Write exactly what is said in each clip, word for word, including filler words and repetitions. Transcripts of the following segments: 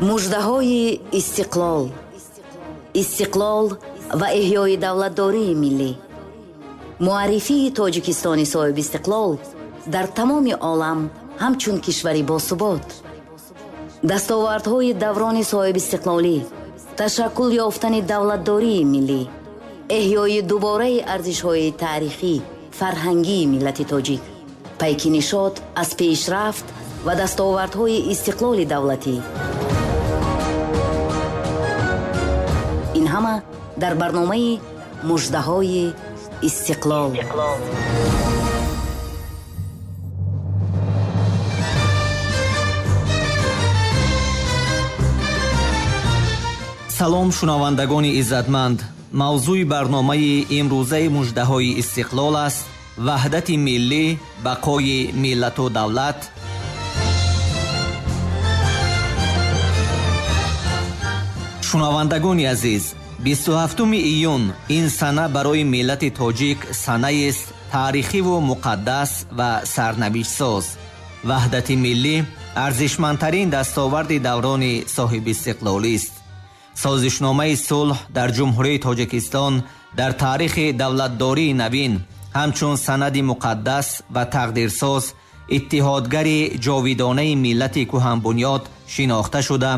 Муждаҳои истиқлол, истиқлол ва эҳёи давлатдории миллӣ, муаррифии Тоҷикистони соҳибистиқлол дар тамоми олам ҳамчун кишвари босубот, дастовардҳои даврони соҳибистиқлолӣ, ташаккул ёфтани давлатдории миллӣ, эҳёи дубораи арзишҳои таърихӣ, фарҳангии миллати тоҷик, пайки нишот аз пешрафт ва дастовардҳои истиқлоли давлатӣ. Ин ҳама дар барномаи муждаҳои истиқлол. Салом, шунавандагони иззатманд. Мавзӯи барномаи имрӯзаи муждаҳои истиқлол аст: ваҳдати миллӣ, бақои миллату давлат. Шунавандагони азиз, бисту ҳафтуми июн ин сана барои миллати тоҷик санаест таърихиву муқаддас ва сарнавиштсоз. Ваҳдати миллӣ арзишмандтарин дастоварди даврони соҳибистиқлолист. Созишномаи сулҳ дар Ҷумҳурии Тоҷикистон дар таърихи давлатдории навин ҳамчун санади муқаддас ва тақдирсоз, иттиҳодгари ҷовидонаи миллати кӯҳанбунёд шинохта шуда,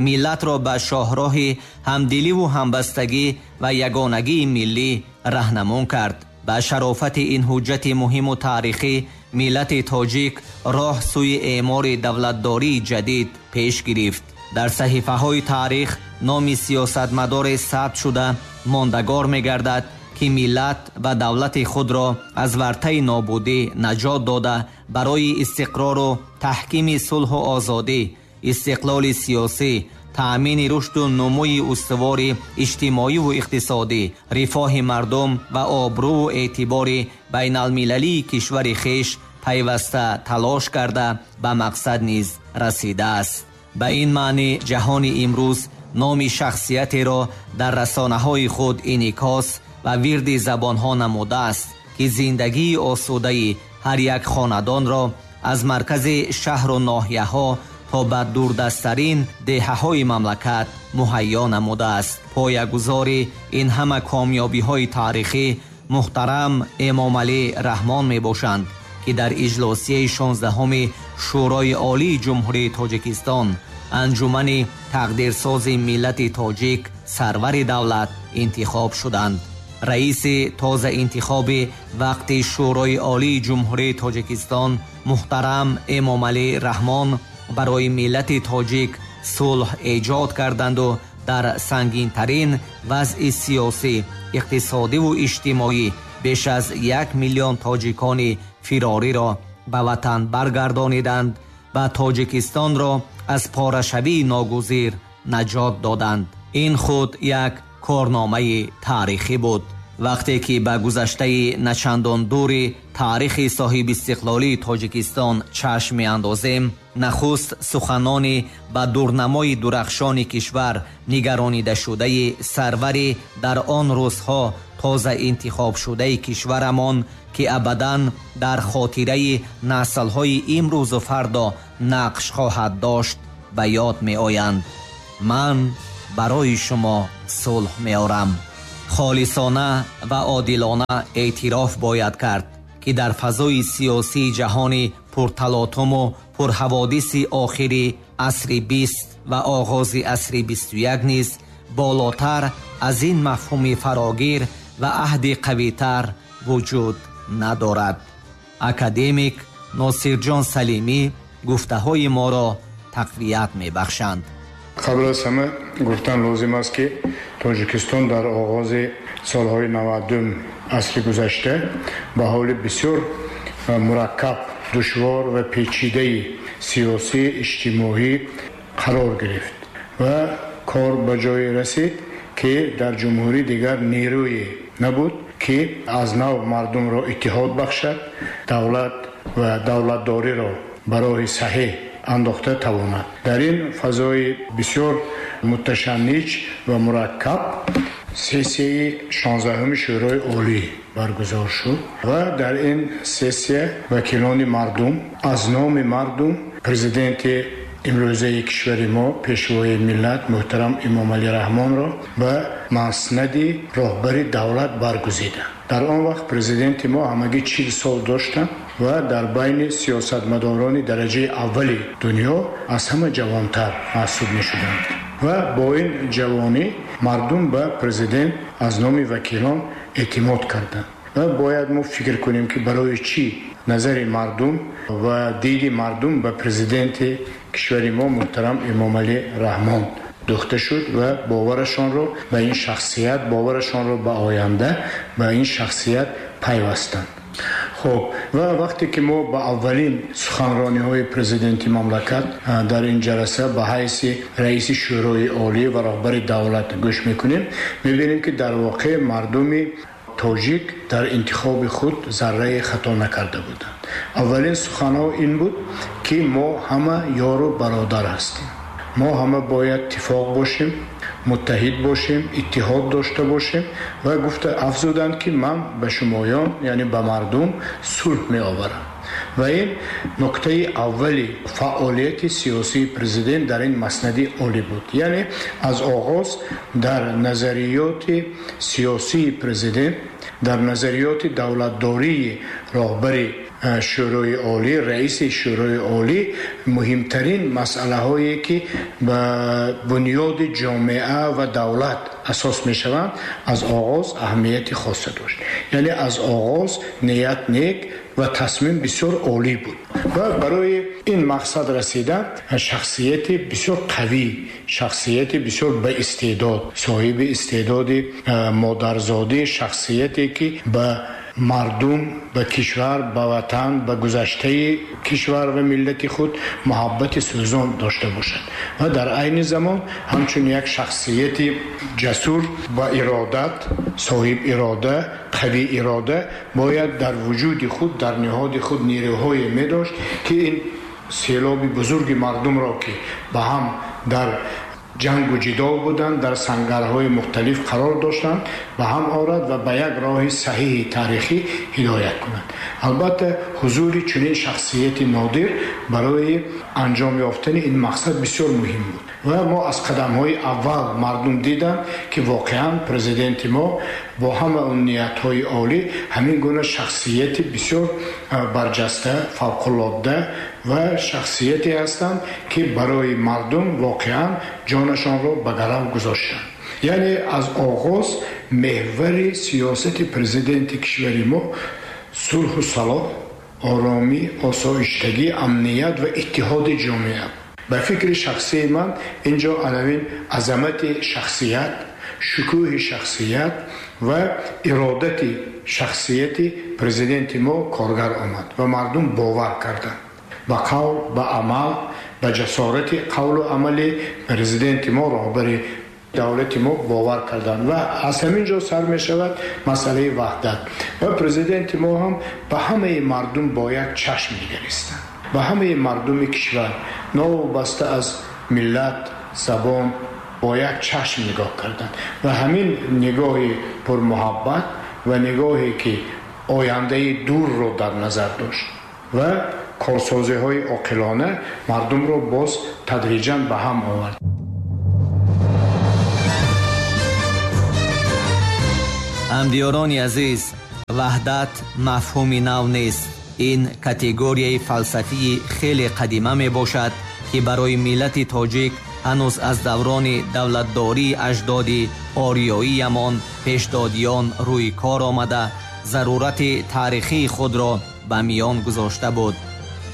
миллатро ба шоҳроҳи ҳамдиливу ҳамбастагӣ ва ягонагии миллӣ раҳнамон кард. Ба шарофати ин ҳуҷҷати муҳиму таърихӣ миллати тоҷик роҳ сӯи эъмори давлатдории ҷадид пеш гирифт. Дар саҳифаҳои таърих номи сиёсатмадоре сабт шуда мондагор мегардад, ки миллат ва давлати худро аз вартаи нобудӣ наҷот дода, барои истиқрору таҳкими сулҳу озодӣ, истиқлоли сиёсӣ, таъмини рушду нумӯи устувори иҷтимоиву иқтисодӣ, рифоҳи мардум ва обрӯву эътибори байналмилалии кишвари хеш пайваста талош карда ба мақсад низ расидааст. Ба ин маънӣ ҷаҳони имрӯз номи шахсиятеро дар расонаҳои худ инъикос ва вирди забонҳо намудааст, ки зиндагии осудаи ҳар як хонадонро аз маркази шаҳру ноҳияҳо то ба дурдасттарин деҳаҳои мамлакат муҳайё намудааст. Поягузори ин ҳама комёбиҳои таърихӣ муҳтарам Эмомалӣ Раҳмон мебошанд, ки дар иҷлосияи шонздаҳуми Шӯрои Олии Ҷумҳурии Тоҷикистон, анҷумани тақдирсози миллати тоҷик, сарвари давлат интихоб шуданд. Раиси тозаинтихоби вақти Шӯрои Олии Ҷумҳурии Тоҷикистон муҳтарам Эмомалӣ Раҳмон барои миллати тоҷик сулҳ эҷод карданду дар сангинтарин вазъи сиёсӣ, иқтисодиву иҷтимоӣ беш аз як миллион тоҷикони фирориро ба ватан баргардониданд ва Тоҷикистонро аз порашавии ногузир наҷот доданд. Ин худ як корномаи таърихӣ буд. Вақте ки ба гузаштаи начандон дури таърихи соҳибистиқлолии Тоҷикистон чашм меандозем, нахуст суханони ба дурнамои дурахшони кишвар нигаронидашудаи сарвари дар он рӯзҳо тоза интихобшудаи кишварамон, ки абадан дар хотираи наслҳои имрӯзу фардо нақш хоҳад дошт, ба ёд меоянд. Ман барои шумо сулҳ меорам. Холисона ва одилона эътироф бояд кард, ки дар фазои сиёсии ҷаҳони пурталотуму пурҳаводиси охири асри бист ва оғози асри бисту як низ болотар аз ин мафҳуми фарогир ва аҳди қавитар вуҷуд надорад. Академик Носирҷон Салимӣ гуфтаҳои моро тақвият мебахшанд. Қабл аз ҳама гуфтан лозим аст, ки Тоҷикистон дар оғози солҳои навадум асри гузашта ба ҳоли бисёр мураккаб, душвор ва печидаи сиёсӣ, иҷтимоӣ қарор гирифт ва кор ба ҷое расид, ки дар ҷумҳурӣ дигар нерӯе набуд, ки аз нав мардумро иттиҳод бахшад, давлат ва давлатдориро ба роҳи саҳеҳ андохта тавонад. Дар ин фазои бисёр муташанниҷ ва мураккаб сессияи шонздаҳуми Шӯрои Олӣ баргузор шуд ва дар ин сессия вакилони мардум аз номи мардум президенти имрӯзаи кишвари мо, пешвои миллат муҳтарам Эмомалӣ Раҳмонро ба маснади роҳбари давлат баргузиданд. Дар он вақт президенти мо ҳамагӣ чил сол доштанд ва дар байни сиёсатмадорони дараҷаи аввали дунё аз ҳама ҷавонтар маҳсуб мешуданд. Ва бо ин ҷавонӣ мардум ба президент аз номи вакилон эътимод карданд. Ва бояд мо фикр кунем, ки барои чӣ назари мардум ва диди мардум ба президенти кишвари мо муҳтарам Эмомалӣ Раҳмон духта шуд ва боварашонро ба ин шахсият, боварашонро ба оянда, ба ин шахсият пайвастанд. Хуб, ва вақте ки мо ба аввалин суханрониҳои президенти мамлакат дар ин ҷаласа ба ҳайси раиси Шӯрои Олӣ ва роҳбари давлат гӯш мекунем, мебинем, ки дар воқеъ мардуми тоҷик дар интихоби худ зарраи хато накарда буданд. Аввалин суханҳо ин буд, ки мо ҳама ёру бародар ҳастем. Мо ҳама бояд иттифоқ бошем, муттаҳид бошем, иттиҳод дошта бошем ва гуфта афзуданд, ки ман ба шумоён, яъне ба мардум, сулҳ меоварам. Ва ин нуктаи аввали фаъолияти сиёсии президент дар ин маснади олӣ буд. Яъне аз оғоз дар назариёти сиёсии президент, дар назариёти давлатдории роҳбари Шӯрои Олӣ, раиси Шӯрои Олӣ муҳимтарин масъалаҳое, ки ба бунёди ҷомеа ва давлат асос мешаванд, аз оғоз аҳамияти хоса дошт. Яъне аз оғоз ният нек ва тасмим бисёр олӣ буд. Ва барои ин мақсад расидан шахсияти бисёр қавӣ, шахсияти бисёр ба истеъдод, соҳиби истеъдоди модарзодӣ, шахсияте, ки ба мардум, ба кишвар, ба ватан, ба гузаштаи кишвар ва миллати худ муҳаббати сӯзон дошта бошад ва дар айни замон ҳамчун як шахсияти ҷасур ба иродат, соҳиб ирода, қавӣ ирода бояд дар вуҷуди худ, дар ниҳоди худ нерӯҳое медошт, ки ин селоби бузурги мардумро, ки ба ҳам дар ҷангу ҷидол буданд, дар сангарҳои мухталиф қарор доштанд, ба ҳам орад ва ба як роҳи саҳиҳи таърихӣ ҳидоят кунад. Албатта, ҳузури чунин шахсияти нодир барои анҷом ёфтани ин мақсад бисёр муҳим буд. Ва мо аз қадамҳои аввал мардум диданд, ки воқеан президенти мо бо ҳама он ниятҳои олӣ ҳамин гуна шахсияти бисёр барҷаста, фавқулодда ва шахсияте ҳастанд, ки барои мардум воқеан ҷонашонро ба гарав гузоштанд. Яъне аз оғоз меҳвари сиёсати президенти кишвари мо сулҳу салоҳ, оромӣ, осоиштагӣ, амният ва иттиҳоди ҷомеа. Ба фикри шахсии ман инҷо алавин азамати шахсият, шукӯҳи шахсият ва иродати шахсияти президенти мо коргар омад ва мардум бовар карданд. Ба қавл, ба амал, ба ҷасорати қавлу амали президенти мо, роҳбари давлати мо бовар карданд ва аз ҳамин ҷо сар мешавад масъалаи ваҳдат. Ва президенти мо ҳам ба ҳамаи мардум бо як чашм нигаристанд, ба ҳамаи мардуми кишвар новобаста аз миллат, забон бо як чашм нигоҳ карданд ва ҳамин нигоҳи пурмуҳаббат ва нигоҳе, ки ояндаи дурро дар назар дошт ва корсозиҳои оқилона мардумро боз тадриҷан ба ҳам овард. Ҳамдиёрони азиз, ваҳдат мафҳуми нав нест. Ин категорияи фалсафии хеле қадима мебошад, ки барои миллати тоҷик ҳанӯз аз даврони давлатдории аҷдоди ориёиямон пешдодиён рӯи кор омада, зарурати таърихии худро ба миён гузошта буд.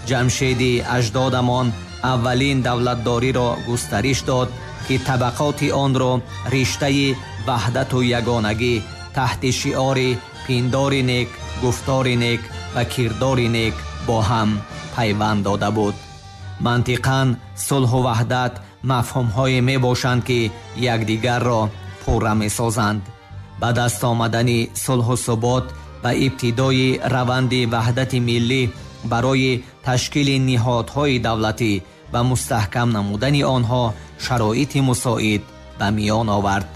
Ҷамшеди аҷдодамон аввалин давлатдориро густариш дод, ки табақоти онро риштаи ваҳдату ягонагӣ таҳти шиори пиндори нек, гуфтори нек ва кирдори нек бо ҳам пайванд дода буд. Мантиқан сулҳу ваҳдат мафҳумҳое мебошанд, ки якдигарро пурра месозанд. Ба даст омадани сулҳу субот ва ибтидои раванди ваҳдати миллӣ барои ташкили ниҳодҳои давлатӣ ва мустаҳкам намудани онҳо шароити мусоид ба миён овард.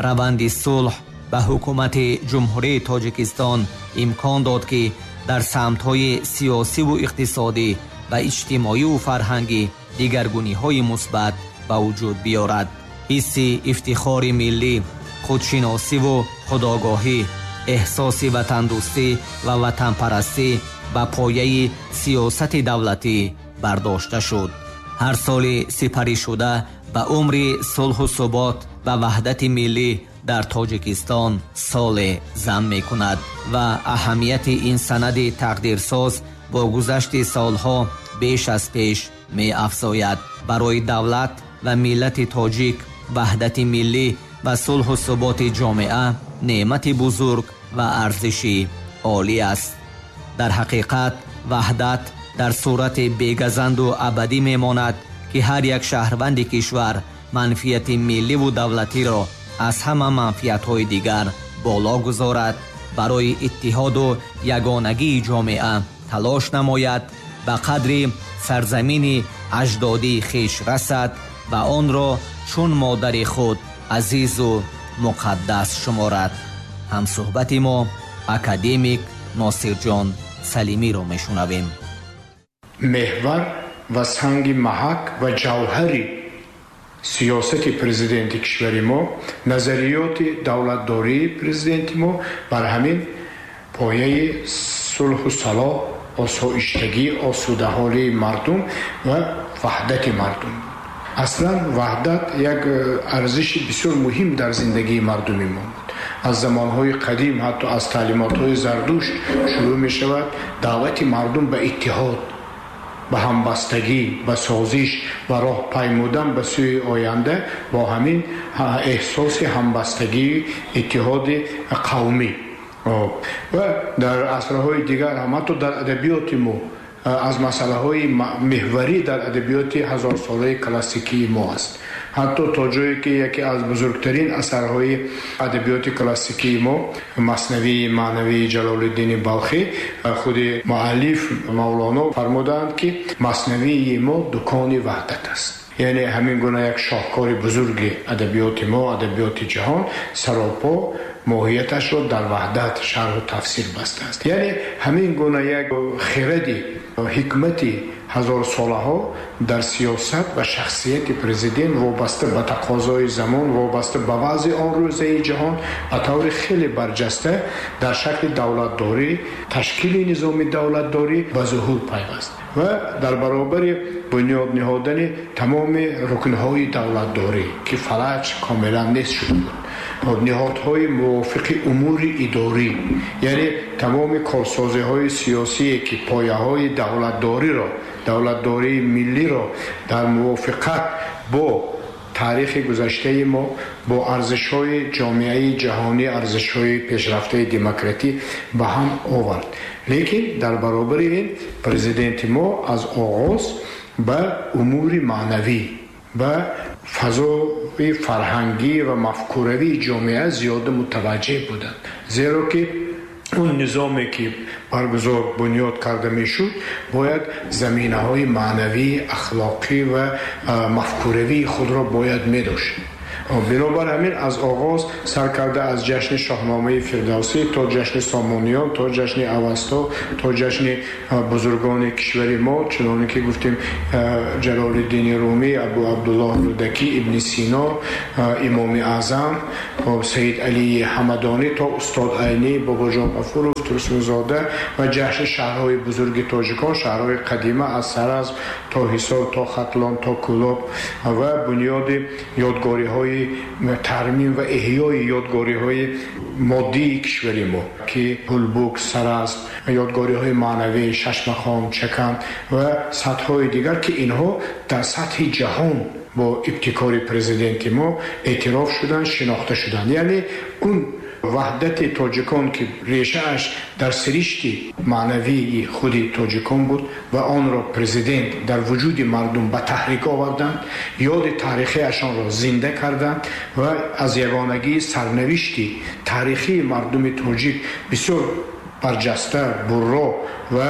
Раванди сулҳ ба ҳукумати Ҷумҳурии Тоҷикистон имкон дод, ки дар самтҳои сиёсиву иқтисодӣ ва иҷтимоиву фарҳангӣ дигаргуниҳои мусбат ба вуҷуд биёрад. Ҳисси ифтихори миллӣ, худшиносиву худогоҳӣ, эҳсоси ватандӯстӣ ва ватанпарастӣ ба пояи сиёсати давлатӣ бардошта шуд. Ҳар соли сипаришуда ба умри сулҳу субот ва ваҳдати миллӣ дар Тоҷикистон соле зам мекунад ва аҳамияти ин санади тақдирсоз бо гузашти солҳо беш аз пеш меафзояд. Барои давлат ва миллати тоҷик ваҳдати миллӣ ва сулҳу суботи ҷомеа неъмати бузург ва арзиши олӣ аст. Дар ҳақиқат ваҳдат дар сурати бегазанду абадӣ мемонад, ки ҳар як шаҳрванди кишвар манфиати милливу давлатиро аз ҳама манфиатҳои дигар боло гузорад, барои иттиҳоду ягонагии ҷомеа талош намояд, ба қадри сарзамини аҷдодии хеш расад ва онро чун модари худ азизу муқаддас шуморад. Ҳамсӯҳбати мо академик Носирҷон Салимиро мешунавем. Меҳвар ва санги маҳак ва ҷавҳари сиёсати президенти кишвари мо, назариёти давлатдории президенти мо бар ҳамин пояи сулҳу салоҳ, осоиштагӣ, осудаҳолии мардум ва ваҳдати мардум. Аслан ваҳдат як арзиши бисёр муҳим дар зиндагии мардуми мо буд. Аз замонҳои қадим, ҳатто аз таълимотҳои Зардушт шурӯъ мешавад даъвати мардум ба иттиҳод, ба ҳамбастагӣ, ба созиш ва роҳ паймудан ба сӯи оянда бо ҳамин эҳсоси ҳамбастагии иттиҳоди қавмӣ. Ва дар асрҳои дигар ҳам, ҳатто дар адабиёти мо аз масъалаҳои меҳварӣ дар адабиёти ҳазорсолаи классикии мо аст. Ҳатто то ҷое ки яке аз бузургтарин асарҳои адабиёти классикии мо Маснавии маънавии Ҷалолиддини Балхӣ, худи муаллиф Мавлоно фармудаанд, ки маснавии мо дукони ваҳдат аст. Яъне ҳамин гуна як шоҳкори бузурги адабиёти мо, адабиёти ҷаҳон саропо моҳияташро дар ваҳдат шарҳу тафсир бастааст. Яъне ҳамин гуна як хиради ҳикмати ҳазорсолаҳо дар сиёсат ва шахсияти президент вобаста ба тақозои замон, вобаста ба вазъи он рӯзаи ҷаҳон ба таври хеле барҷаста дар шакли давлатдорӣ, ташкили низоми давлатдорӣ ба зуҳур пайваст ва дар баробари бунёд ниҳодани тамоми рукнҳои давлатдорӣ, ки фалаҷ комилан нест шуда буд, ниҳодҳои мувофиқи умури идорӣ, яъне тамоми корсозиҳои сиёсие, ки пояҳои давлатдориро, давлатдории миллиро дар мувофиқат бо таърихи гузаштаи мо, бо арзишҳои ҷомеаи ҷаҳонӣ, арзишҳои пешрафтаи демократӣ ба ҳам овард. Лекин дар баробари ин президенти мо аз оғоз ба умури маънавӣ, ба фазои фарҳангӣ ва мафкуравии ҷомеа зиёда мутаваҷҷеҳ буданд. Зеро ки он низоме ки баргузор бунёд карда мешуд, бояд заминаҳои маънавӣ, ахлоқӣ ва мафкуравии худро бояд медошт. Бинобар ҳамин аз оғоз сар карда аз ҷашни Шоҳномаи Фирдавсӣ то ҷашни Сомониён, то ҷашни Авасто, то ҷашни бузургони кишвари мо, чуноне ки гуфтем Ҷалолиддини Румӣ, Абу Абдуллоҳ Рӯдакӣ, Ибни Сино, Имоми Аъзам, Саид Алии Ҳамадонӣ то Устод Айнӣ, Бобоҷон Ғафуров, Турсунзода ва ҷашни шаҳрҳои бузурги тоҷикон, шаҳрҳои қадима аз Саразм то Ҳисор, то Хатлон, то Кӯлоб ва бунёди ёдгориҳои тармим ва эҳёи ёдгориҳои моддии кишвари мо, ки Ҳулбук, Саразм, ёдгориҳои маънавӣ, Шашмақом, Чакан ва сатҳҳои дигар, ки инҳо дар сатҳи ҷаҳон бо ибтикори президенти мо эътироф шуданд, шинохта шуданд. Яъне он ваҳдати тоҷикон, ки решааш дар сиришти маънавии худи тоҷикон буд ва онро президент дар вуҷуди мардум ба таҳрик оварданд, ёди таърихиашонро зинда карданд ва аз ягонагии сарнавишти таърихии мардуми тоҷик бисёр барҷаста, бурро ва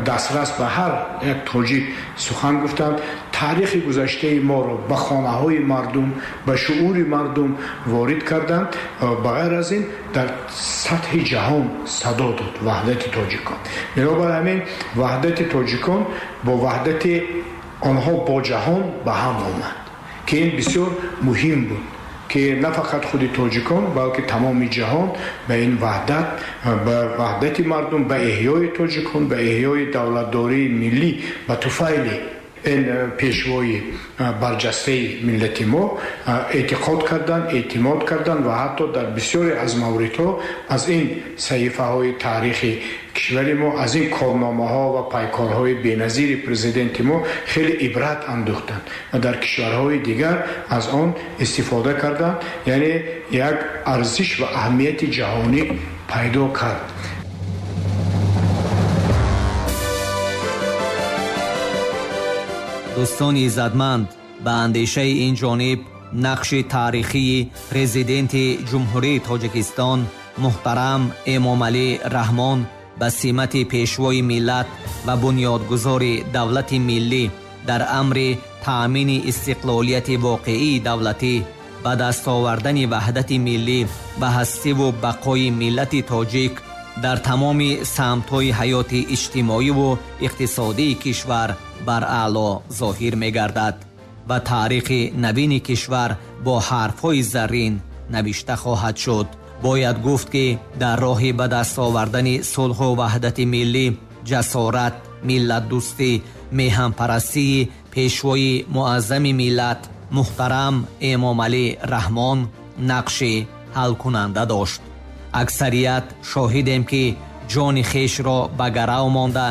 дастрас ба ҳар як тоҷик сухан гуфтанд. Таърихи гузаштаи моро ба хонаҳои мардум, ба шуури мардум ворид карданд. Ба ғайр аз ин дар сатҳи ҷаҳон садо дод ваҳдати тоҷикон. Бинобар ҳамин ваҳдати тоҷикон бо ваҳдати Онҳо бо ҷаҳон ба ҳам омад, ки ин бисёр муҳим буд, ки на фақат худи тоҷикон, балки тамоми ҷаҳон ба ин ваҳдат, ба ваҳдати мардум, ба эҳёи тоҷикон, ба эҳёи давлатдории миллӣ, ба туфайли ин пешвои барҷастаи миллати мо эътиқод карданд, эътимод карданд ва ҳатто дар бисёре аз мавридҳо аз ин саҳифаҳои таърихи кишвари мо, аз ин корномаҳо ва пайкорҳои беназири президенти мо хеле ибрат андӯхтанд ва дар кишварҳои дигар аз он истифода карданд. Яъне як арзиш ва аҳамияти ҷаҳонӣ пайдо кард. Дӯстони иззатманд, ба андешаи ин ҷониб нақши таърихии президенти Ҷумҳурии Тоҷикистон муҳтарам Эмомалӣ Раҳмон ба симати пешвои миллат ва бунёдгузори давлати миллӣ дар амри таъмини истиқлолияти воқеии давлатӣ, ба даст овардани ваҳдати миллӣ ва ҳастиву бақои миллати тоҷик дар тамоми самтҳои ҳаёти иҷтимоиву иқтисодии кишвар бар аъло зоҳир мегардад ва таърихи навини кишвар бо ҳарфҳои заррин навишта хоҳад шуд. Бояд гуфт, ки дар роҳи ба даст овардани сулҳу ваҳдати миллӣ, ҷасорат, миллатдӯстӣ, меҳанпарастии пешвои муаззами миллат муҳтарам Эмомалӣ Раҳмон нақши ҳалкунанда дошт. Аксарият шоҳидем, ки ҷони хешро ба гарав монда,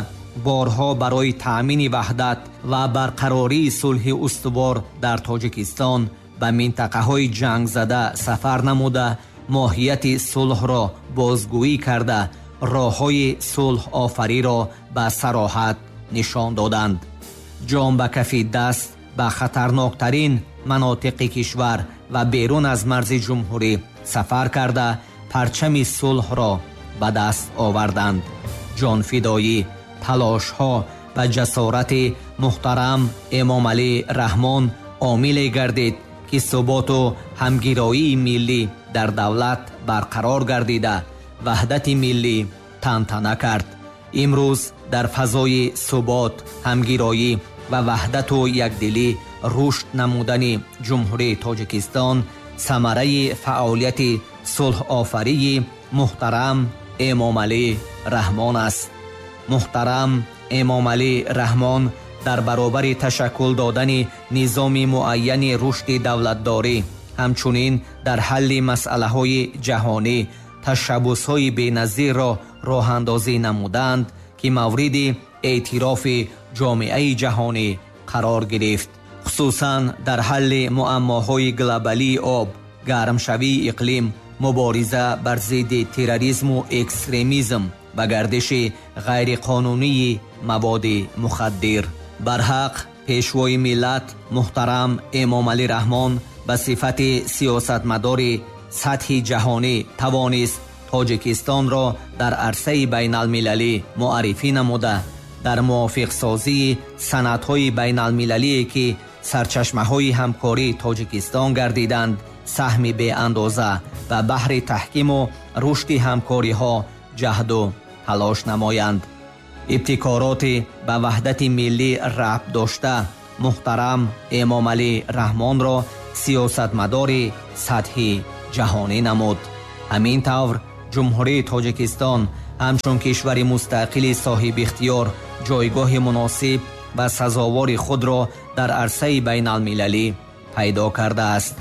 борҳо барои таъмини ваҳдат ва барқарории сулҳи устувор дар Тоҷикистон ба минтақаҳои ҷангзада сафар намуда, моҳияти сулҳро бозгӯӣ карда, роҳҳои сулҳофариро ба сароҳат нишон доданд. Ҷон ба кафи даст ба хатарноктарин манотиқи кишвар ва берун аз марзи ҷумҳурӣ сафар карда, парчами сулҳро ба даст оварданд. Ҷонфидоӣ, талошҳо ва ҷасорати муҳтарам Эмомалӣ Раҳмон омиле гардид, ки суботу ҳамгироии миллӣ дар давлат барқарор гардида, ваҳдати миллӣ тантана кард. Имрӯз дар фазои субот, ҳамгироӣ ва ваҳдату якдилӣ рушд намудани Ҷумҳурии Тоҷикистон самараи фаъолияти сулҳофарии муҳтарам Эмомалӣ Раҳмон аст. Муҳтарам Эмомалӣ Раҳмон дар баробари ташаккул додани низоми муайяни рушди давлатдорӣ, ҳамчунин дар ҳалли масъалаҳои ҷаҳонӣ ташаббусҳои беназирро роҳандозӣ намуданд, ки мавриди эътирофи ҷомеаи ҷаҳонӣ қарор гирифт. Хусусан дар ҳалли муаммоҳои глобалии об, гармшавии иқлим, мубориза бар зидди терроризму экстремизм ва гардиши ғайриқонунии маводи мухаддир. Барҳақ пешвои миллат муҳтарам Эмомалӣ Раҳмон ба сифати сиёсатмадори сатҳи ҷаҳонӣ тавонист Тоҷикистонро дар арсаи байналмилалӣ муаррифӣ намуда, дар мувофиқсозии санадҳои байналмилалие ки сарчашмаҳои ҳамкории Тоҷикистон гардиданд, саҳми беандоза ва баҳри таҳкиму рушди ҳамкориҳо ҷаҳду талош намоянд. Ибтикороти ба ваҳдати миллӣ рабт дошта муҳтарам Эмомалӣ Раҳмонро сиёсатмадори сатҳи ҷаҳонӣ намуд. Ҳамин тавр Ҷумҳурии Тоҷикистон ҳамчун кишвари мустақили соҳибихтиёр ҷойгоҳи муносиб ва сазовори худро дар арсаи байналмилалӣ пайдо кардааст.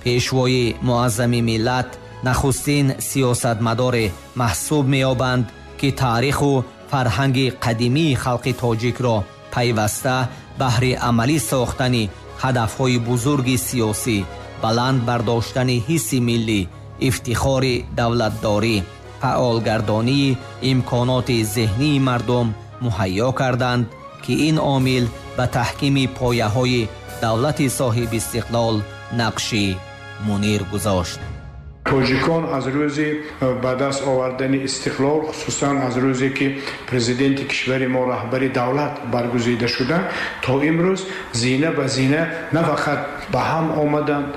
Пешвои муаззами миллат нахустин сиёсатмадоре маҳсуб меёбанд, ки таъриху фарҳанги қадимии халқи тоҷикро пайваста баҳри амалӣ сохтани ҳадафҳои бузурги сиёсӣ, баланд бардоштани ҳисси миллӣ, ифтихори давлатдорӣ, фаъолгардонии имконоти зеҳнии мардум муҳайё карданд, ки ин омил ба таҳкими пояҳои давлати соҳибистиқлол нақши мунир гузошт. Тоҷикон аз рӯзи ба даст овардани истиқлол, хусусан аз рӯзе ки президенти кишвари мо раҳбари давлат баргузида шуданд, то имрӯз зина ба зина на фақат ба ҳам омаданд,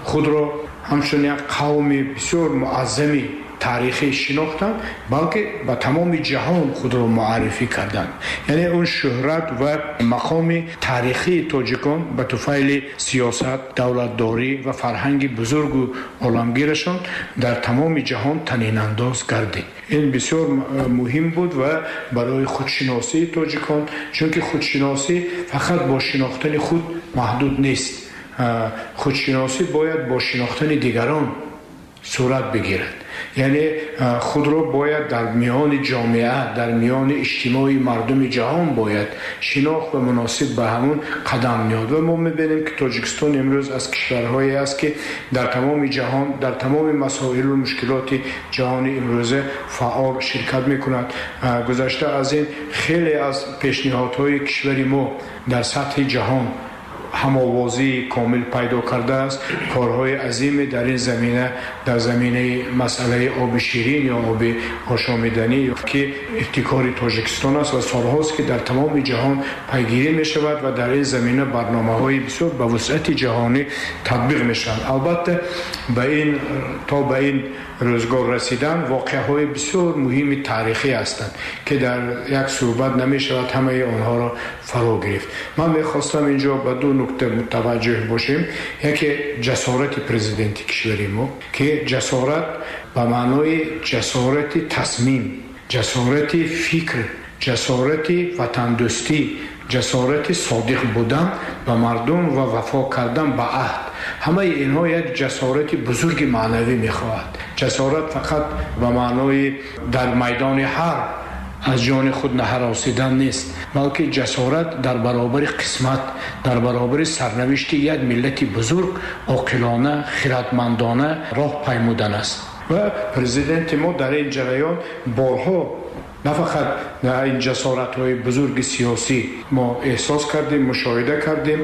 худро ҳамчун як қавми бисёр муаззами таърихӣ шинохтанд, балки ба тамоми ҷаҳон худро муаррифӣ карданд. Яъне он шӯҳрат ва мақоми таърихии тоҷикон ба туфайли сиёсат, давлатдорӣ ва фарҳанги бузургу оламгирашон дар тамоми ҷаҳон танинандоз гардид. Ин бисёр муҳим буд ва барои худшиносии тоҷикон, чунки худшиносӣ фақат бо шинохтани худ маҳдуд нест. Худшиносӣ бояд бо шинохтани дигарон сурат бигирад. Яъне худро бояд дар миёни ҷомеа, дар миёни иҷтимои мардуми ҷаҳон бояд шинохт ва муносиб ба ҳамун қадам ниҳод. Ва мо мебинем, ки Тоҷикистон имрӯз аз кишварҳое аст, ки дар тамоми ҷаҳон, дар тамоми масоилу мушкилоти ҷаҳони имрӯза фаъол ширкат мекунад. Гузашта аз ин, хеле аз пешниҳодҳои кишвари мо дар сатҳи ҷаҳон ҳамовозии комил пайдо кардааст. Корҳои азиме дар ин замина, дар заминаи масъалаи оби ширин ё оби ошомиданӣ, ки ибтикори Тоҷикистон аст ва солҳост, ки дар тамоми ҷаҳон пайгирӣ мешавад ва дар ин замина барномаҳои бисёр ба вусъати ҷаҳонӣ татбиқ мешаванд. Албатта, ба ин то ба ин рӯзгор расидан воқеаҳои бисёр муҳими таърихӣ ҳастанд, ки дар як суҳбат намешавад ҳамаи онҳоро фаро гирифт. Ман мехостам инҷо ба ду нукта мутаваҷҷӯҳ бошем. Яке ҷасорати президенти кишвари мо, ки ҷасорат ба маънои ҷасорати тасмим, ҷасорати фикр, ҷасорати ватандӯстӣ, ҷасорати содиқ будан ба мардум ва вафо кардан ба аҳд. Ҳамаи инҳо як ҷасорати бузурги маънавӣ мехоҳад. Ҷасорат фақат ба маънои дар майдони ҳарб аз ҷони худ наҳаросидан нест, балки ҷасорат дар баробари қисмат, дар баробари сарнавишти як миллати бузург оқилона, хиратмандона роҳ паймудан аст. Ва президенти мо дар ин ҷараён борҳо на фақат ин ҷасоратҳои бузурги сиёсӣ мо эҳсос кардем, мушоҳида кардем,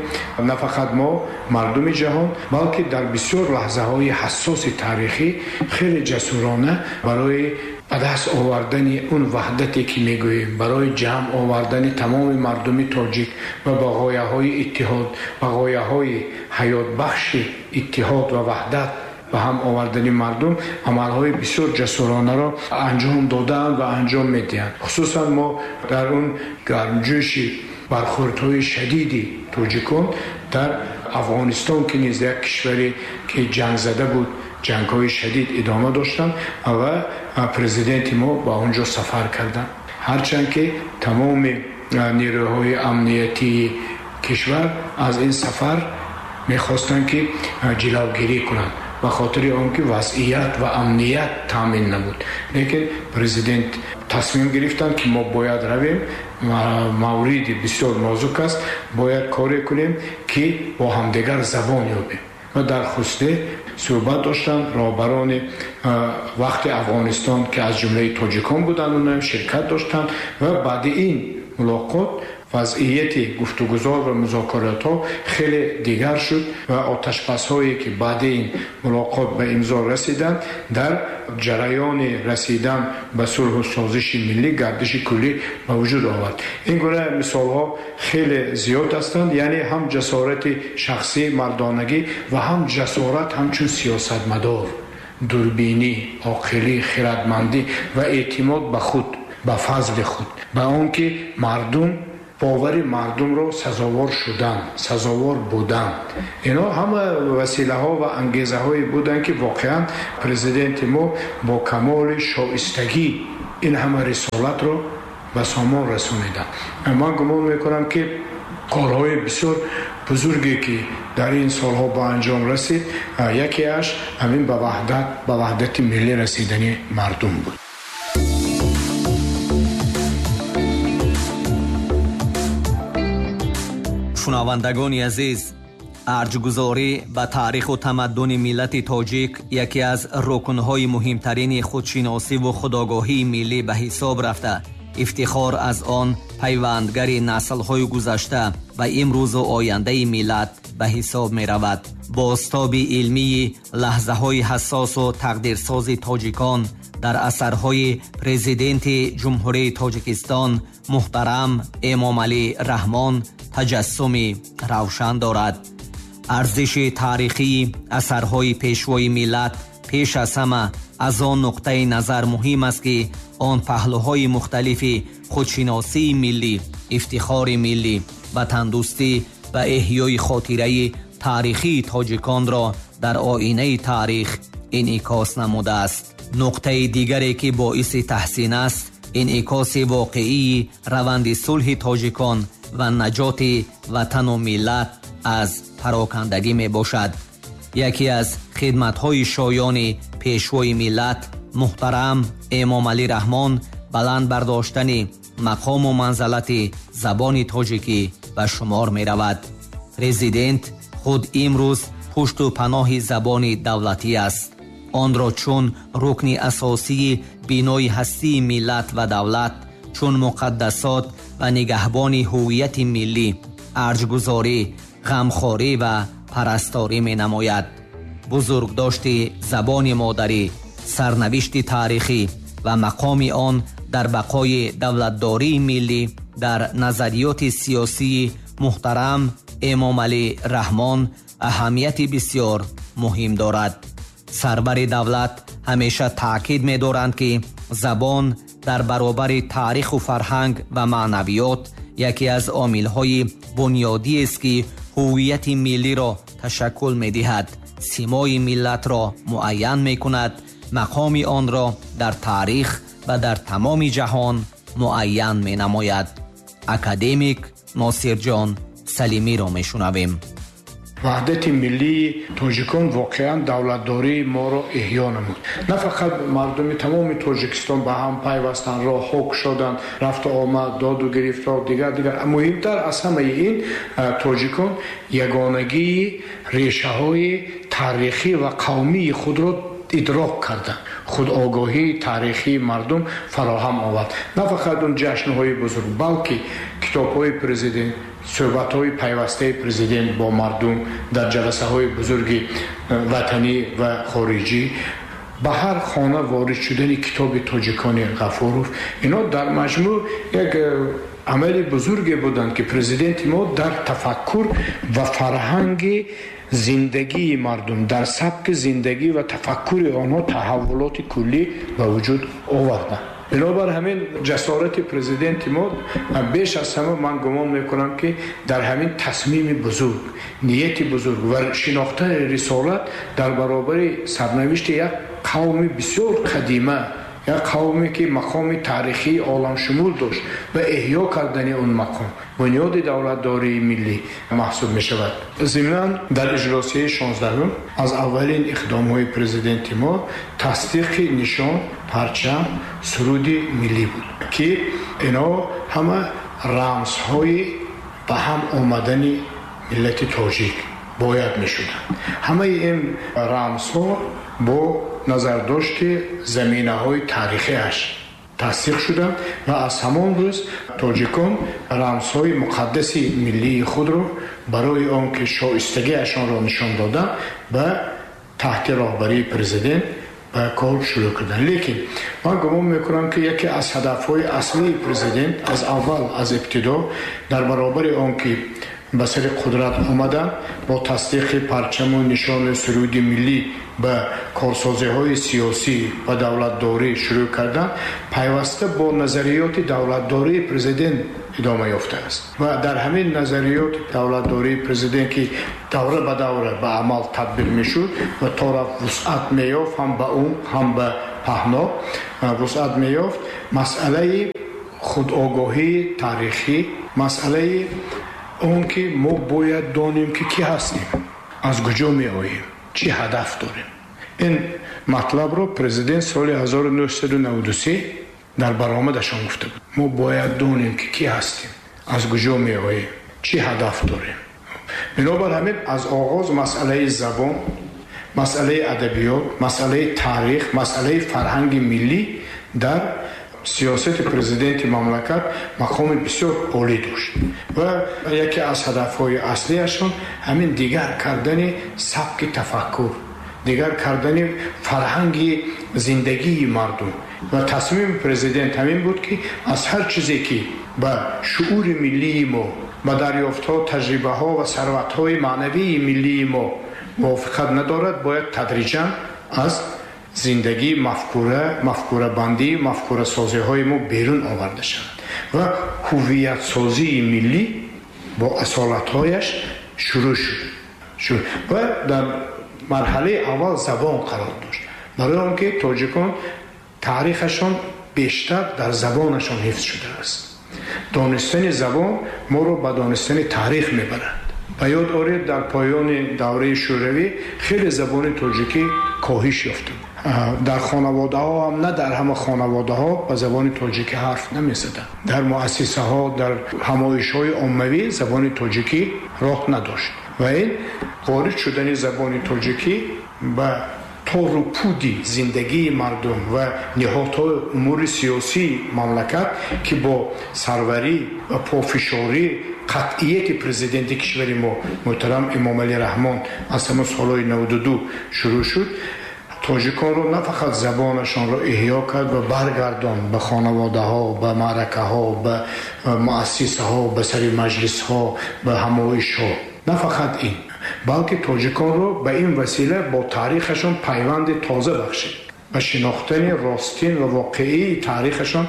на фақат мо, мардуми ҷаҳон, балки дар бисёр лаҳзаҳои ҳассоси таърихӣ хеле ҷасурона барои ба даст овардани он ваҳдате, ки мегӯем, барои ҷамъ овардани тамоми мардуми тоҷик ва ба ғояҳои иттиҳод, ба ғояҳои ҳаётбахши иттиҳод ва ваҳдат ба ҳам овардани мардум амалҳои бисёр ҷасуронаро анҷом додаанд ва анҷом медиҳанд. Хусусан мо дар он гармҷӯши бархӯрдҳои шадиди тоҷикон дар Афғонистон, ки низ як кишваре ки ҷангзада буд, ҷангҳои шадид идома доштанд ва президенти мо ба он ҷо сафар карданд. Ҳарчанд ки тамоми нерӯҳои амниятии кишвар аз ин сафар мехостанд, ки ҷилавгирӣ кунанд, ба хотири он ки вазъият ва амният таъмин набуд. Лекин президент тасмим гирифтанд, ки мо бояд равем, мавриди бисёр нозук аст, бояд коре кунем, ки бо ҳамдигар забон ёбем. Ва дар хусте суҳбат доштанд роҳбарони вақти Афғонистон, ки аз ҷумлаи тоҷикон буданд, онҳам ширкат доштанд ва баъди ин мулоқот вазъияти гуфтугузор ва музокиротҳо хеле дигар шуд ва оташбасҳое, ки баъди ин мулоқот ба имзо расиданд, дар ҷараёни расидан ба сулҳу созиши миллӣ гардиши куллӣ ба вуҷуд овард. Ин гуна мисолҳо хеле зиёд ҳастанд. Яъне ҳам ҷасорати шахсӣ, мардонагӣ ва ҳам ҷасорат ҳамчун сиёсатмадор, дурбинӣ, оқилӣ, хиратмандӣ ва эътимод ба худ, ба фазли худ, ба он ки мардум бовари мардумро сазовор шудан, сазовор будан. Инҳо ҳама василаҳо ва ангезаҳое буданд, ки воқеан президенти мо бо камоли шоистагӣ ин ҳама рисолатро ба сомон расониданд. Ман гумон мекунам, ки корҳои бисёр бузурге, ки дар ин солҳо ба анҷом расид, якеаш ҳамин ба ваҳдат, ба ваҳдати миллӣ расидани мардум буд. Шунавандагони азиз, арҷгузорӣ ба таъриху тамаддуни миллати тоҷик яке аз рукнҳои муҳимтарини худшиносиву худогоҳии миллӣ ба ҳисоб рафта, ифтихор аз он пайвандгари наслҳои гузашта ва имрӯзу ояндаи миллат ба ҳисоб меравад. Бозтоби илмии лаҳзаҳои ҳассосу тақдирсози тоҷикон дар асарҳои президенти Ҷумҳурии Тоҷикистон муҳтарам Эмомалӣ Раҳмон таҷассуми равшан дорад. Арзиши таърихии асарҳои пешвои миллат пеш аз ҳама аз он нуқтаи назар муҳим аст, ки он паҳлӯҳои мухталифи худшиносии миллӣ, ифтихори миллӣ, ватандӯстӣ ва эҳёи хотираи таърихии тоҷиконро дар оинаи таърих инъикос намудааст. Нуқтаи дигаре, ки боиси таҳсин аст, инъикоси воқеии раванди сулҳи тоҷикон ва наҷоти ватану миллат аз парокандагӣ мебошад. Яке аз хидматҳои шоёни пешвои миллат муҳтарам Эмомалӣ Раҳмон баланд бардоштани мақому манзалати забони тоҷикӣ ба шумор меравад. Президент худ имрӯз пушту паноҳи забони давлатӣ аст. Онро чун рукни асосии бинои ҳастии миллат ва давлат, чун муқаддасот ва нигаҳбони ҳуввияти миллӣ, арҷгузорӣ, ғамхорӣ ва парасторӣ менамояд. Бузургдошти забони модарӣ, сарнавишти таърихӣ ва мақоми он дар бақои давлатдории миллӣ дар назариёти сиёсии муҳтарам Эмомалӣ Раҳмон аҳамияти бисёр муҳим дорад. Сарвари давлат ҳамеша таъкид медоранд, ки забон дар баробари таъриху фарҳанг ва маънавиёт яке аз омилҳои бунёдиест, ки ҳуввияти миллиро ташаккул медиҳад, симои миллатро муайян мекунад, мақоми онро дар таърих ва дар тамоми ҷаҳон муайян менамояд. Академик Носирҷон Салимиро мешунавем. Ваҳдати миллии тоҷикон воқеан давлатдории моро эҳё намуд. На фақат мардуми тамоми Тоҷикистон ба ҳам пайвастанд, роҳҳо кушоданд, рафту омад, доду гирифтор, дигар дигар. Муҳимтар аз ҳамаи ин, тоҷикон ягонагии решаҳои таърихӣ ва қавмии худро идрок карданд. Худогоҳии таърихии мардум фароҳам овард. На фақат он ҷашнҳои бузург, балки китобҳои президент, суҳбатҳои пайвастаи президент бо мардум дар ҷаласаҳои бузурги ватанӣ ва хориҷӣ, ба ҳар хона ворид шудани китоби тоҷикони Ғафуров, ино дар маҷмӯъ як амали бузурге буданд, ки президенти мо дар тафаккур ва фарҳанги зиндагии мардум, дар сабки зиндагӣ ва тафаккури онҳо таҳаввулоти куллӣ ба вуҷуд оварданд. Бинобар ҳамин ҷасорати президенти мо беш аз ҳама ман гумон мекунам, ки дар ҳамин тасмими бузург, нияти бузург ва шинохтани рисолат дар баробари сарнавишти як қавми бисёр қадима, як қавме ки мақоми таърихии оламшумул дошт ва эҳё кардани он мақом бунёди давлатдории миллӣ маҳсуб мешавад. Зимнан дар иҷлосияи шонздаҳум аз аввалин иқдомҳои президенти мо тасдиқи нишон, парчам, суруди миллӣ буд, ки ино ҳама рамзҳои ба ҳам омадани миллати тоҷик бояд мешуданд. Ҳамаи ин рамзҳо бо назардошти заминаҳои таърихиаш тасдиқ шуданд ва аз ҳамон рӯз тоҷикон рамзҳои муқаддаси миллии худро барои он ки шоистагиашонро нишон доданд, ба таҳти роҳбарии президент ба кор шурӯъ карданд. Лекин ман гумон мекунам, ки яке аз ҳадафҳои аслии президент аз аввал, аз ибтидо, дар баробари он ки ба сари қудрат омаданд, бо тасдиқи парчаму нишони суруди миллӣ ба корсозиҳои сиёсӣ ва давлатдорӣ шурӯъ карданд, пайваста бо назариёти давлатдории президент идома ёфтааст. Ва дар ҳамин назариёти давлатдории президент, ки давра ба давра ба амал татбиқ мешуд ва то рафт вусъат меёфт, ҳам ба умқ, ҳам ба паҳно вусъат меёфт, масъалаи худогоҳии таърихӣ, масъалаи он ки мо бояд донем, ки кӣ ҳастем, аз куҷо меоем, чӣ ҳадаф дорем. Ин матлабро президент соли ҳазору нӯҳсаду наваду се дар баромадашон гуфта буд. Мо бояд донем, ки кӣ ҳастем, аз куҷо меоем, чӣ ҳадаф дорем. Бинобар ҳамин аз оғоз масъалаи забон, масъалаи адабиёт, масъалаи таърих, масъалаи фарҳанги миллӣ дар сиёсати президенти мамлакат мақоми бисёр олӣ дошт ва яке аз ҳадафҳои аслиашон ҳамин дигар кардани сабки тафаккур, дигар кардани фарҳанги зиндагии мардум. Ва тасмими президент ҳамин буд, ки аз ҳар чизе ки ба шуури миллии мо, ба дарёфтҳо, таҷрибаҳо ва сарватҳои маънавии миллии мо мувофиқат надорад, бояд тадриҷан аз зиндагӣ, мафкура, мафкурабандӣ, мафкурасозиҳои мо берун оварда шавад ва ҳуввиятсозии миллӣ бо асолатҳояш шурӯъ шуд ва дар марҳалаи аввал забон қарор дошт, барои он ки тоҷикон таърихашон бештар дар забонашон ҳифз шудааст. Донистани забон моро ба донистани таърих мебарад. Ба ёд оред, дар поёни давраи шӯравӣ хеле забони тоҷикӣ коҳиш ёфта буд. Дар хонаводаҳо ҳам на дар ҳама хонаводаҳо ба забони тоҷикӣ ҳарф намезаданд. Дар муассисаҳо, дар ҳамоишҳои оммавӣ забони тоҷикӣ роҳ надошт ва ин ворид шудани забони тоҷикӣ ба тору пуди зиндагии мардум ва ниҳодҳои умури сиёсии мамлакат, ки бо сарварӣ ва пофишорӣ қатъияти президенти кишвари мо муҳтарам Эмомалӣ Раҳмон аз ҳамон солҳои наваду ду шурӯъ шуд, тоҷиконро на фақат забонашонро эҳё кард ва баргардонд ба хонаводаҳо, ба маъракаҳо, ба муассисаҳо, ба сари маҷлисҳо, ба ҳамоишҳо. На фақат ин, балки тоҷиконро ба ин васила бо таърихашон пайванди тоза бахшид, ба шинохтани ростин ва воқеии таърихашон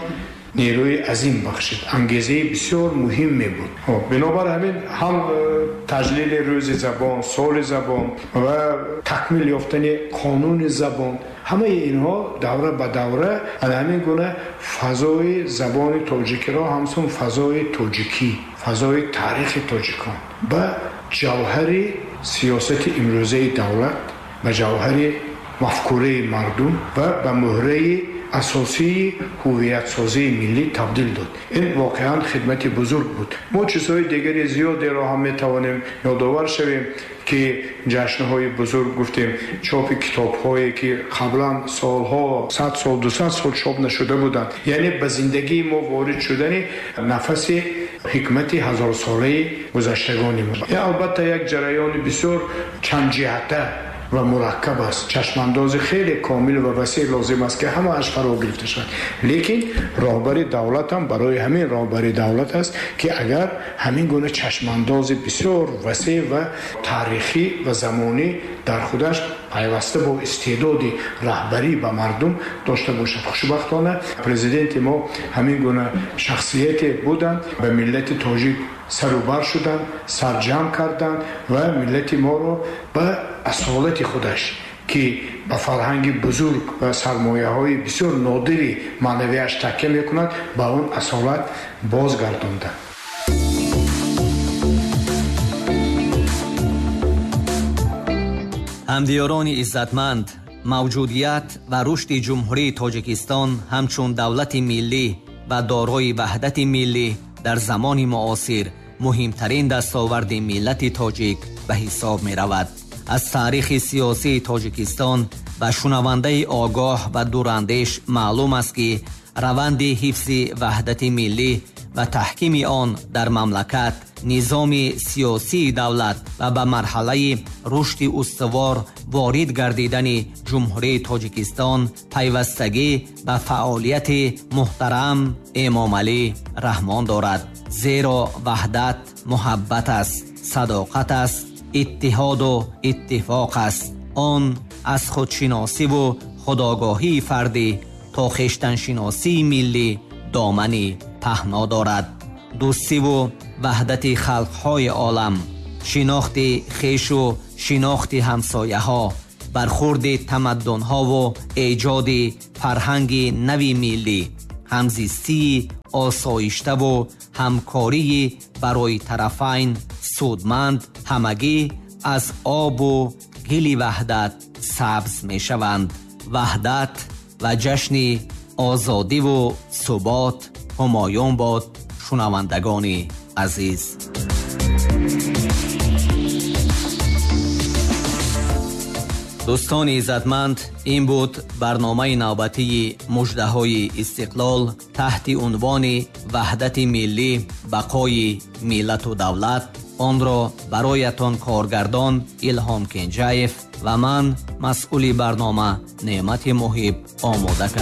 нерӯи азим бахшид, ангезаи бисёр муҳим мебуд. Бинобар ҳамин ҳам таҷлили рӯзи забон, соли забон ва такмил ёфтани қонуни забон, ҳамаи инҳо давра ба давра аз ҳамин гуна фазои забони тоҷикиро ҳамчун фазои тоҷикӣ, фазои таърихи тоҷикон ба ҷавҳари сиёсати имрӯзаи давлат, ба ҷавҳари мафкураи мардум ва ба муҳраи асосии ҳуввиятсозии миллӣ табдил дод. Ин воқеан хидмати бузург буд. Мо чизҳои дигари зиёдеро ҳам метавонем ёдовар шавем, ки ҷашнҳои бузург гуфтем, чопи китобҳое ки қаблан солҳо, сад сол, дусад сол чоп нашуда буданд, яъне ба зиндагии мо ворид шудани нафаси ҳикмати ҳазорсолаи гузаштагони мо. Ин албатта як ҷараёни бисёр чандҷиҳата ва мураккаб аст. Чашмандози хеле комил ва васеъ лозим аст, ки ҳамааш фаро гирифта шавад. Лекин роҳбари давлат ҳам барои ҳамин роҳбари давлат аст, ки агар ҳамин гуна чашмандози бисёр васеъ ва таърихӣ ва замонӣ дар худаш пайваста бо истеъдоди раҳбарӣ ба мардум дошта бошад. Хушбахтона президенти мо ҳамин гуна шахсияте буданд, ба миллати тоҷик сарубар шуданд, сарҷамъ карданд ва миллати моро ба асолати худаш, ки ба фарҳанги бузург ва сармояҳои бисёр нодири маънавиаш такя мекунад, ба он асолат бозгардонданд. Ҳамдиёрони иззатманд, мавҷудият ва рушди Ҷумҳурии Тоҷикистон ҳамчун давлати миллӣ ва дорои ваҳдати миллӣ дар замони муосир муҳимтарин дастоварди миллати тоҷик ба ҳисоб меравад. Аз таърихи сиёсии Тоҷикистон ба шунавандаи огоҳ ва дурандеш маълум аст, ки раванди ҳифзи ваҳдати миллӣ ва таҳкими он дар мамлакат, низоми сиёсии давлат ва ба марҳалаи рушди устувор ворид гардидани Ҷумҳурии Тоҷикистон пайвастагӣ ба фаъолияти муҳтарам Эмомалӣ Раҳмон дорад. Зеро ваҳдат муҳаббат аст, садоқат аст, иттиҳоду иттифоқ аст. Он аз худшиносиву худогоҳии фардӣ то хештаншиносии миллӣ домани паҳно дорад. Дӯстиву ваҳдати халқҳои олам, шинохти хешу шинохти ҳамсояҳо, бархурди тамаддунҳову эҷоди фарҳанги нави миллӣ, ҳамзистии осоиштаву ҳамкории барои тарафайн судманд ҳамагӣ аз обу гили ваҳдат сабз мешаванд. Ваҳдат ва ҷашни озодиву субот ҳумоюн бод. Шунавандагони азиз, дӯстони иззатманд, ин буд барномаи навбатии муждаҳои истиқлол таҳти унвони ваҳдати миллӣ, бақои миллату давлат. Онро бароятон коргардон Илҳом Кенҷаев ва ман, масъули барнома Неъмати Муҳиб, омода кардам.